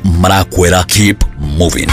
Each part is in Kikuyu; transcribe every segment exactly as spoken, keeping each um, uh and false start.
Marakwera, keep moving.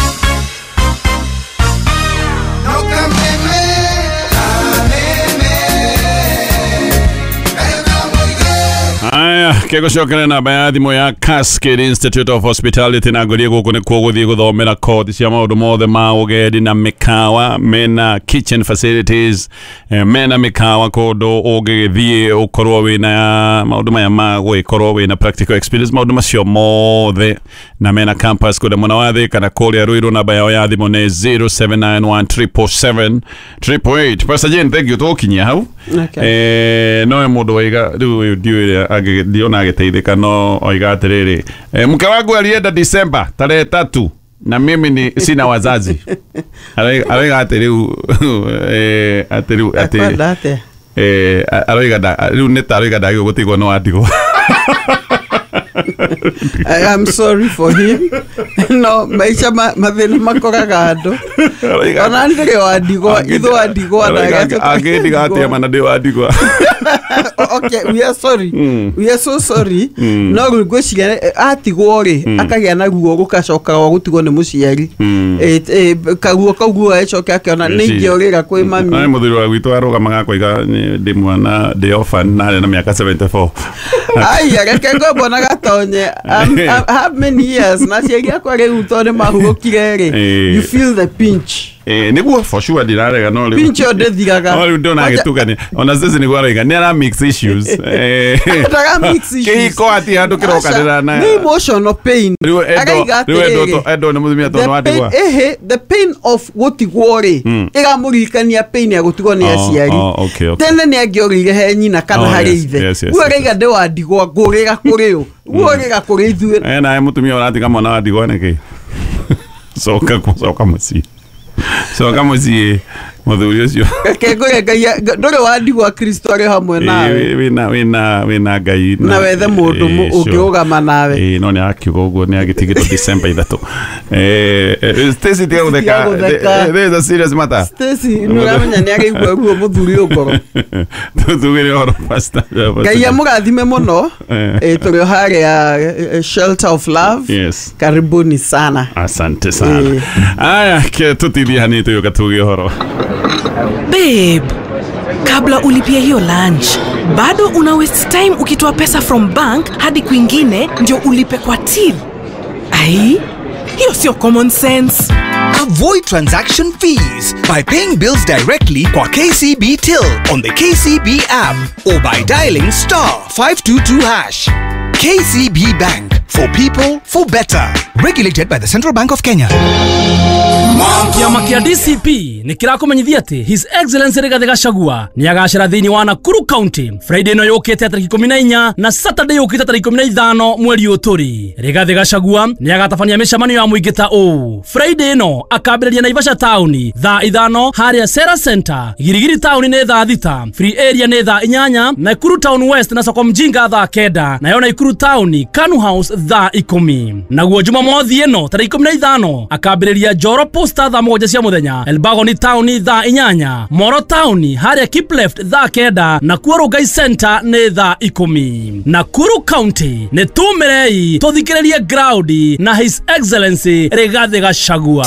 Aya, kegũcokerera namba ya thimũ ya Cascade Institute of Hospitality na ngũrie gũkũ nĩkuo gũthiĩ gũthomera kothi cia maũndũ mothe ma ũgendi na mĩkawa. Mena kitchen facilities, eh, mena mĩkawa kũndũ ũngĩgĩthiĩ ũkorwo wĩna maũndũ maya ma gwĩkorwo wĩna practical experience, maũndũ macio mothe, na mena campus kũrĩa mwena wa Thika na kũrĩa Ruiru. Namba yao ya thimũ nĩ zero seven nine one triple seven triple eight. Pastor Jane, thank you, tũgũkinyia hau. Okay. Eh, no mũndũ waiga rĩu ũyũ ndiũĩ ũrĩa ndiona agĩteithĩka, no oiga atĩrĩrĩ, eh, mke wangu alienda December tarehe tatu na mimi ni sina wazazi. Aroiga atĩ rĩu eh, atĩ rĩu atĩ Akwenda atĩa? eh, aroiga rĩu nĩ ta aroiga ndagĩrĩirwo gũtigwo no andigwo. I am sorry for him. No, maisha mathĩna makoraga andũ. Ona ndĩrĩ wa ndigwa, ithu wa ndigwa na angĩndiga atĩa mana ndĩ wa ndigwa. Okay, we are sorry. Mm. We are so sorry. Mm. No rĩu ngwĩciria atigwo rĩ, akagĩa na ruo rũgacoka rwa gũtigwo nĩ mũciari. Eh, eh, karuo kau guo acoke akĩona nĩ ingĩorĩra kwĩ mami. Nĩ mũthuri wa gwitũ arũgamaga akoiga ndĩ mwana ndĩ orphan na arĩ na mĩaka seventy four. Ai, reke ngombo na gatonye. Um, how many years na ciari akwa rĩu tondũ nĩ mahurũkire rĩ, you feel the pinch. Eh, nĩguo for sure ndirarega no rĩu pinch ĩyo ndĩthiraga. No rĩu ndona agĩtukania ona sisi nĩguo aroiga nĩ ara mix issues. Eh, ndara mix issues. Kĩhiko atĩ handũ kĩrokanĩra na nĩ emotional pain. Rĩu endo endo nĩ mũtumia tondũ andigwa. Ehe, the pain of gũtigwo rĩ ĩramũririkania pain ya gũtigwo nĩ aciari. Tene nĩ angĩorĩire he nyina kana harĩ ithe. Rĩu araiga ndĩ wa ndigwa ngũrĩra kũrĩ ũ, ngũrĩra kũrĩ ithuĩ. Eh, nawe mũtumia ũratiga mwana wa ndigwa nĩkĩ? Coka coka mũciĩ. Coka mũciĩ mũthuri ũcio. Reke ngũre Ngai ndũrĩ wa ndigwa, Kristo arĩ hamwe nawe. Wĩna wĩna wĩna Ngai na wethe mũndũ ũngĩrũgama nawe. Ĩĩ, no nĩ akiuga ũguo nĩ agĩtigĩtwo December ithatũ. Eh, Stacy tiga gũtheka. There is a serious matter. Stacy nĩ ũramenya nĩ araigua ruo mũthuri ũyũ ngoro. Tũtugĩre ũhoro pastor. Ngai amũrathime mũno. Eh, tũrĩ o harĩa Shelter of Love. Yes. Karibuni sana. Asante sana. Aya, ke tutithie hanini tũgĩũka tuge ũhoro. Babe, kabla ulipie hiyo lunch, bado una waste time ukitoa pesa from bank hadi kwingine ndio ulipe kwa till. Ai, hiyo sio common sense. Avoid transaction fees by paying bills directly kwa K C B Till on the K C B app or by dialing star five two two hash. K C B Bank, for people, for better. Regulated by the Central Bank of Kenya. Kĩama kĩa D C P nĩ kĩrakũmenyithia atĩ His Excellency Rigathĩ Gachagua nĩ agacera thĩinĩ wa Nakuru County Friday ĩno yũkĩte tarĩki ikũmi na inya na Saturday yũkĩte tarĩki ikũmi na ithano mweri ũyũ tũrĩ. Rigathĩ Gachagua nĩ agatabania mĩcemanio ya mũingĩ ta ũũ. Friday ĩno akambĩrĩria Naivasha Town thaa ithano harĩa Sera Center, Girigiri Town nĩ thaa thita, Free Area nĩ thaa inyanya, Nakuru Town West na Soko Mjinga thaa kenda, nayo Nakuru Town Kanu House thaa ikũmi. Naguo Jumamothi ĩno tarĩki ikũmi na ithano akambĩrĩria Njoro Posta thaa mũgwanja cia mũthenya, Elbagon Town thaa inyanya, Moro Town harĩa Keep Left thaa kenda, Nakuru Rongai Center nĩ thaa ikũmi. Nakuru County nĩ tumĩrei tũthikĩrĩrie ground na His Excellency Rigathĩ Gachagua.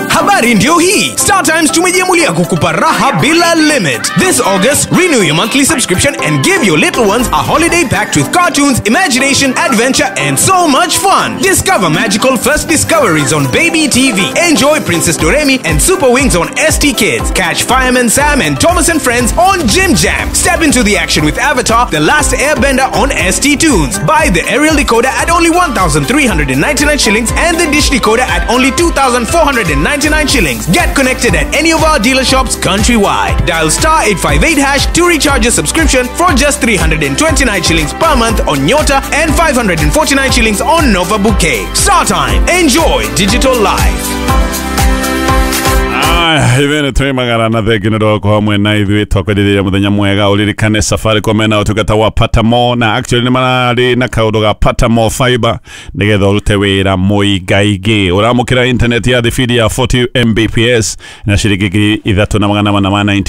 Habari ndio hii. Star Times tumejiamulia kukupa raha bila limit. This August, renew your monthly subscription and give your little ones a holiday packed with cartoons, imagination, adventure, and so much fun. Discover magical first discoveries on Baby T V. Enjoy Princess Doremi and Super Wings on S T Kids. Catch Fireman Sam and Thomas and Friends on Jim Jam. Step into the action with Avatar, The Last Airbender on S T Tunes. Buy the aerial decoder at only one thousand three hundred ninety-nine shillings and the dish decoder at only two thousand four hundred ninety-nine shillings. Get connected at any of our dealer shops countrywide. Dial star eight five eight hash to recharge your subscription for just three hundred twenty-nine shillings per month on Nyota and five hundred forty-nine shillings on Nova Bouquet. Star Time. Enjoy digital life. Ithuĩ twĩ magana na thengi nĩ ũndũ wa gũkorwo hamwe na ithuĩ twakwendithĩria mũthenya mwega. Ũririkane Safaricom mena ũtungata wa Pata More, na actually nĩ mararĩ na kaũndũ ga Pata More Fiber nĩgetha ũrute wĩra mũingaingĩ. Ũramũkĩra internet ya thibindi ya forty M B P S na ciringi ngiri ithatũ na magana mana ma ninety